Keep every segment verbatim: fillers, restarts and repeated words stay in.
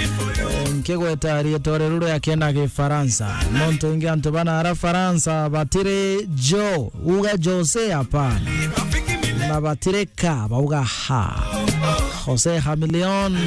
Eh, nkigweta riitwa riu ria kena Gifaransa. Nontu ingi antu bana ara Faransa batiri Jo, uga Jose, hapana. Na batiri Ka, bauga ha. Jose Chameleone,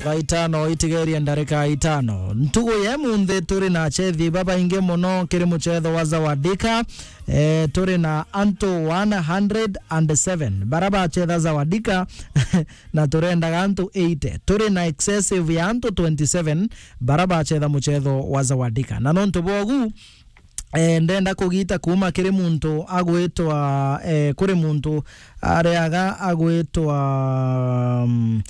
thaa itano itigerie ndarika itano. Ntugu ya munthi turi na achethi babaingi mono kiri muchetho wa Zawadika. Eh, turi na antu one hundred and seven bara bachetha Zawadika, na turendaga antu eighty. Turi na excessive ya antu twenty-seven bara bachetha muchetho wa Zawadika. Na nontu bwogu, eh, ndenda kugita kuuma kiri muntu agwitwa, eh, kuri muntu areaga agwitwa, mm,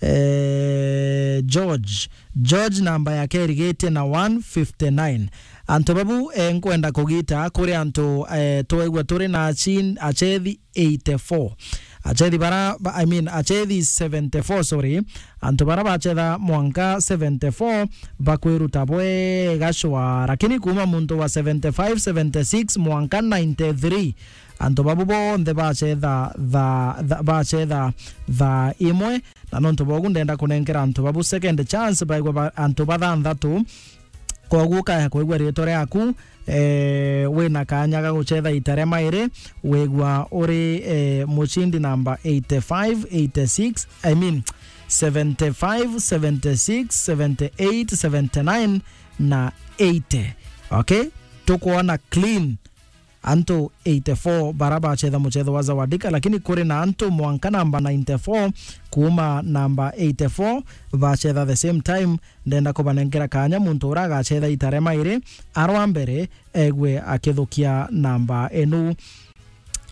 eh, George. George namba yake irigitie na one fifty-nine. Antu babu, eh, nkwenda kugita kuri antu, eh, twegua turi na achin-, achethi eighty-four. Achethi bara, ba-, I mean, achethi seventy-four, sorry. Antu bara bachetha mwanka seventy-four bakwiruta bwega shwa, lakini kuuma muntu wa seventy-five, seventy-six mwanka ninety-three, antu babu bonthe bachetha tha-, tha-, bachetha thaa imwe, na nontu bogu ndenda kunenkera antu babu second chance, baigwa ba-, antu bathanthatu. Koguo ukaya kwigua riitwa riaku, eh, wina kanya ga guchetha ita ria mairi, wigua uri, eh, mucindi namba eighty-five, eighty-six, I mean, seventy-five, seventy-six, seventy-eight, seventy-nine na eighty. Okay? Tukwona clean antu eighty-four bara bachetha muchetho wa Zawadika, lakini kuri na antu mwanka namba ninety-four kuuma namba eighty-four bachetha the same time. Ndenda kubanenkera kanya muntu ura agachetha ita ria mairi arwa mbere, egwe akithukia namba enu.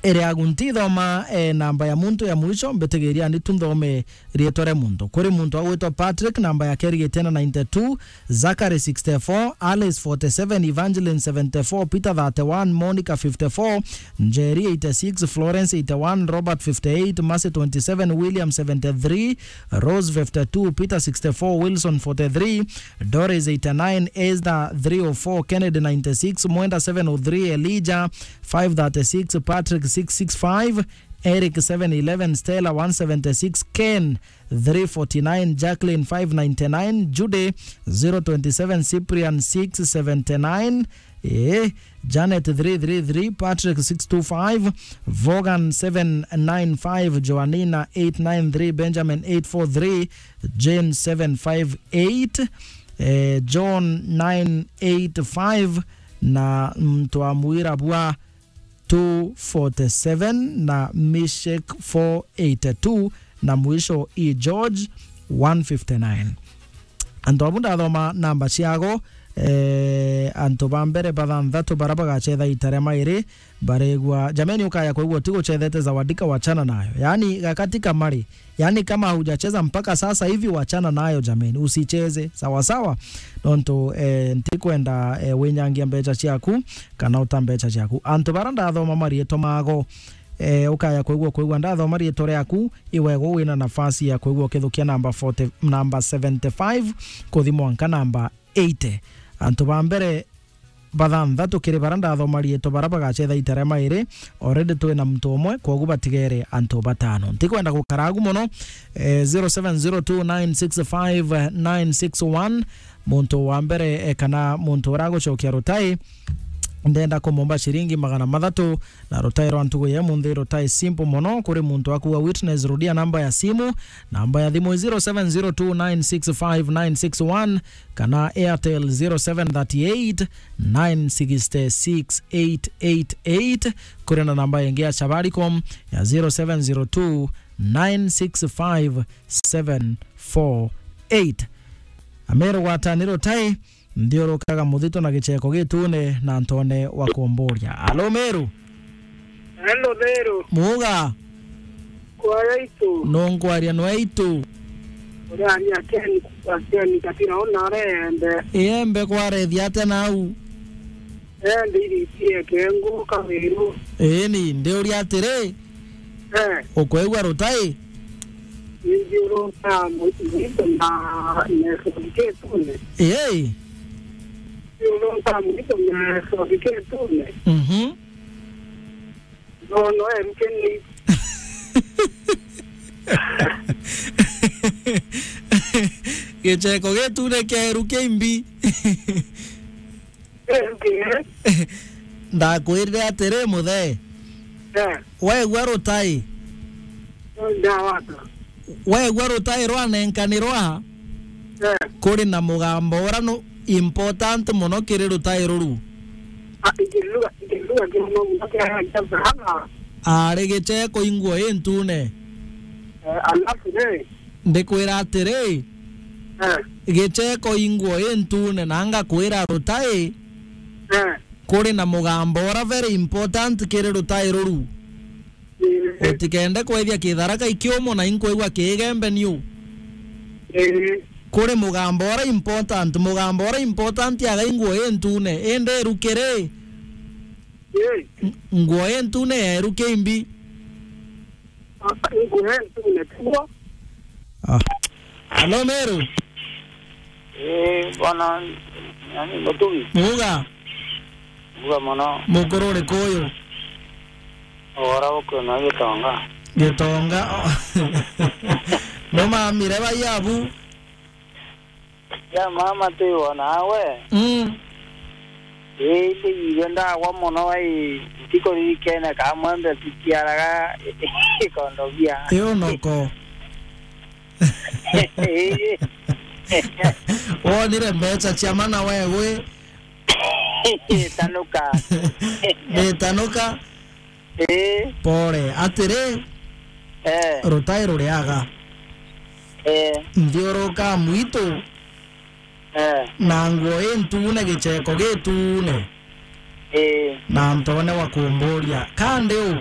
Iri agu ntithoma, eh, namba ya muntu ya mwisho, mbitigiria ni tu nthome riitwa ria muntu. Kuri muntu agwitwa Patrick, namba yake irigitie na ninety-two, Zachary sixty-four, Alice forty-seven, Evangeline seventy-four, Peter thirty-one, Monica fifty-four, Njeri eighty-six, Florence eighty-one, Robert fifty-eight, Mercy twenty-seven, William seventy-three, Rose fifty-two, Peter sixty-four, Wilson forty-three, Doris eighty-nine, Esther three oh four, Kennedy ninety-six, Mwenda seven oh three, Elijah five thirty-six, Patrick six six five, Eric seven eleven, Stella one seventy-six, Ken three forty-nine, Jacqueline five ninety-nine, Judy zero twenty-seven, Cyprian six seventy-nine, eh, Janet three three three, Patrick six two five, Vaughan seven nine five, Joanina eight nine three, Benjamin eight four three, Jane seven five eight, eh, John nine eight five, na mtu amwira bwa two forty-seven na Mishek four eighty-two, na mwisho i George one fifty-nine. Antu abu ndathoma namba ciago, eh, antu ba mbere bathanthatu bara bagachetha ita ria mairi baregwa. Jameni, ukaya kwigua utiguchethete Zawadika, wachana nayo. Yaani, gakati kamari. Yaani, kama hujacheza mpaka sasa hivi, wachana nayo jameni, usicheze, sawa sawa? Nontu, eh, ntikwenda, eh, winyangia mbecha ciaku kana uta mbecha ciaku. Antu bara ndathoma mariitwa mago, eh, ukaya kwigua, kwigua ndathoma riitwa riaku, iwego wina nafasi ya kwigua ukithukia namba forty, namba seventy-five kuthi mwanka namba eighty. Antu ba mbere bathanthatu kiri bara ndathoma riitwa bara bagachetha ita ria mairi. Already twina muntu umwe, kwogu batigere antu batano. Ntikwenda gukara agu mono. Eh, zero seven zero two nine six five nine six one. Muntu wa mbere, eh, kana muntu uragucokia rutai, ndenda kumumba ciringi magana mathatu. Na rutai rwa ntugu ya munthi, rutai simple mono. Kuri muntu akuga witness, rudia namba ya simu. Namba ya thimu zero seven zero two nine six five nine six one, kana Airtel zero seven thirty eight nine six six eight eight eight. Kuri na namba ingi ya Safaricom ya zero seven zero two nine six five seven four eight. Ameru gwatani rutai, nthiurukaga muthito na gicheko gitune na ntone wa kumburia. Alo, Meru? Hello, Meru. Muga? Kwaria itu. Nunkwaria nwe itu? Uria ni Ken, Ken Katira ona arembe. Iembe kwarethia atia nau? Eh, ndiritie kengu kawiru. Ii, ni ndiuria atiri, eh, ukwigua rutai? Nithiurunka mu-, mwito na, na gicungi gitune. Ii. Nithiurunka mwito na gicungi gitune. Mhm. No, no, em, keni. Gicheko gitune kia eru kimbi. Ndakwirire atiri, muthee. Eh. Wegua rutai? Ndawata. Wegua rutai rwanenkanirwa? Eh. Kuri na mugambo ura nu important muno kiri rutai ruru. Ah, ikiruga, ikiruga kiri muno kia, kia Abrahama. Ari gicheko inguo intune. Eh, alafu ni? Ndikwira atiri, eh, gicheko inguo intune, na ngakwira rutai, eh, kuri na mugambo ura very important kiri rutai ruru. Eh. Utikende kwethia kitharaka ikiumo na inkwigua kiigembe niu. Eh. Kuri mugambo ura important, mugambo ura important aga inguo intune, indi eru kiri? Eh. Ng-, nguo intune ya eru kimbi. Ah, nguo intune tiguo. Ah. Alo, Meru. Eh, bwana, yani, Mutugi. Muga. Muga mono. Mukuru uriku uyu? Ora ukwina Gitonga. Gitonga. No mamire baiabu. Ya mama, twi wona we. Mm. Ii, ndi igwe ndagwa mono, ai, ntikuririkene ka mwembe cikiaraga ikondogia. Iyo noko. Ii. Wonire mbeca cia mana we gwi? Tanuka. Ni tanuka. Ii. Pole. Atiri, eh, rutai ruriaga, eh, nthiuruka mwitu, eh, na nguo intune, gicheko gitune, eh, na ntone wa kumburia, kandi u?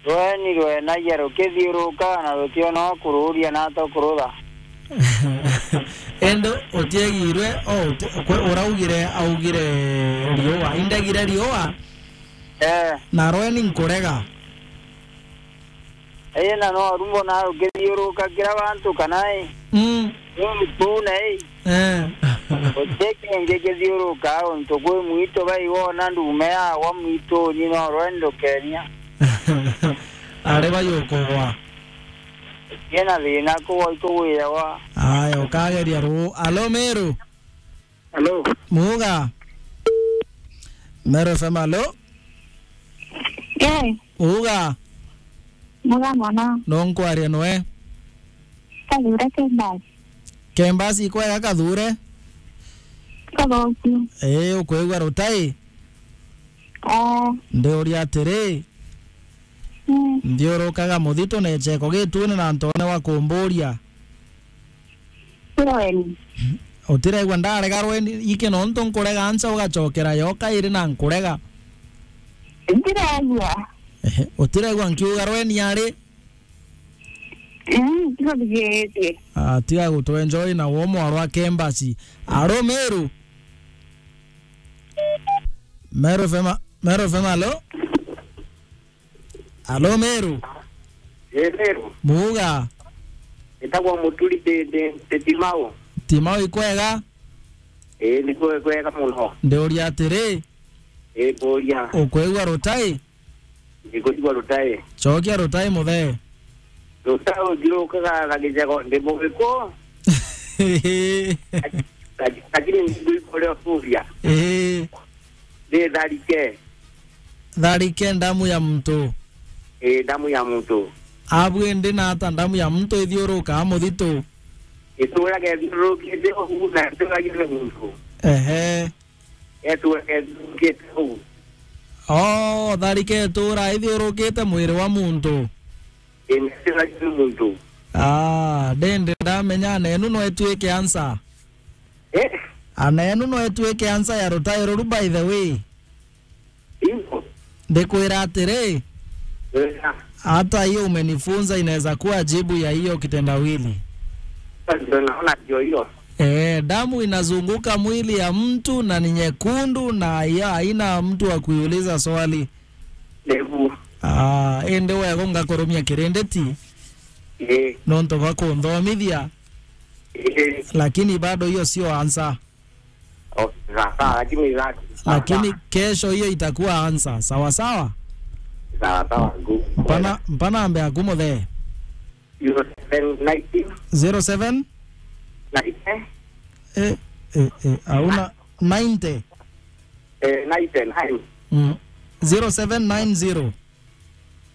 Rweni rwenagia rukithiuruka na rutiona wa kururia na tukurutha. Indi utiegirwe, o, uti-, kwe-, uraugire, augire riua, indegire riua, eh, na rweni nkurega. Ii, na no rumbo na rukithiuruka kira bantu kana i? Mm. Ni mutune i? Eh. Guti kingi kithiuruka untu kwi mwitu, bai wona ndume yagwa mwitu, ni no rweni ndukenia. Ari bai ukugwa. Ina thina kugwa ikugwiragwa. Aya, ukageria ruu. Alo, Meru. Alo. Muga. Meru F M, alo. Eh. Uga. Muga mono. No nkwaria nwe? Kathure Kembasi. Kembasi ikwega Kathure? Kathoku. Ii, ukwigua rutai? Eh. Ndiuria atiri, mm, nthiurukaga muthitu na icheko gitune na ntone wa kumburia? Ti rweni. Utiregua ndarega rweni iki nontu nkurega ansa ugachokera yo kairi na nkurega? Ntiregua. Ehe, utiregua nkiuga rweni ari? Mm, tiga bigeetie. Ah, tiga gutwenjoy na wo mwarwa Kembasi. Aro Meru. Meru F M, Meru F M, alo? Alo, Meru. Ii, Meru. Muga. Itagwa Muturi, ndi, ndi, ndi Timau. Timau ikwega? Ii, ni kwe-, kwega mono. Ndiuria atiri. Ii, mburia. Ukwigua rutai? Ndikwigua rutai. Chokia rutai, muthee. Rutai uthiurukaga na gicheko, ndi Mugiku. Laki-, lakini ndikuikuria kuria. Ii. Ndi tharike. Tharike ndamu ya muntu. Ii, ndamu ya muntu. Abu indi na ata ndamu ya muntu ithiurukaa muthitu? Itura kethiurukite uu na ituragia ni muntu. Ehe. Etura kethiurukite uu. Oh, tharike itura ithiurukite mwiri wa muntu. Ii, na ituragia ni muntu. Ah, ndindi ndamenya nenu no ituike ansa. Eh? Ana enu no ituike ansa ya rutai ruru, by the way. Ingo. Ndikwira atiri, eh, hata hiyo umenifunza inaweza kuwa jibu ya hiyo kitendawili. Sasa ndio naona ndio hiyo. Eh, damu inazunguka mwili ya mtu na ni nyekundu na ya haina mtu wa kuiuliza swali. Ndevu. Ah, indi wego ngakurumia kirinditi. Eh. Nontu bwa kunthomithia. Eh. Lakini bado hiyo sio answer. Okay, sawa, sawa, lakini sawa, lakini sawa. Kesho hiyo itakuwa answer. Sawa sawa? Sawa sawa, gu-, mpana, mpana ambe aku muthee. Hiyo Then nineteen. Zero seven? Nineteen. Eh, eh, eh, hauna ninety? Eh, nineteen, nine. Mm. Zero seven nine zero.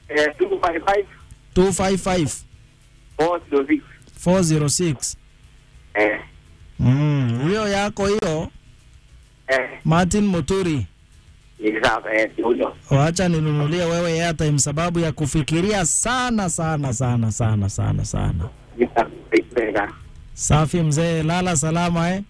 Eh, two five five. Two five five. Four zero six. Four zero six. Eh. Mm, hiyo yako hiyo. Eh. Martin Muturi. Ni sawa, eh, ndio huyo. Wacha ninunulie wewe airtime sababu ya kufikiria sana, sana, sana, sana, sana, sana. Ni sawa, eh. Safi mzee, lala salama, eh?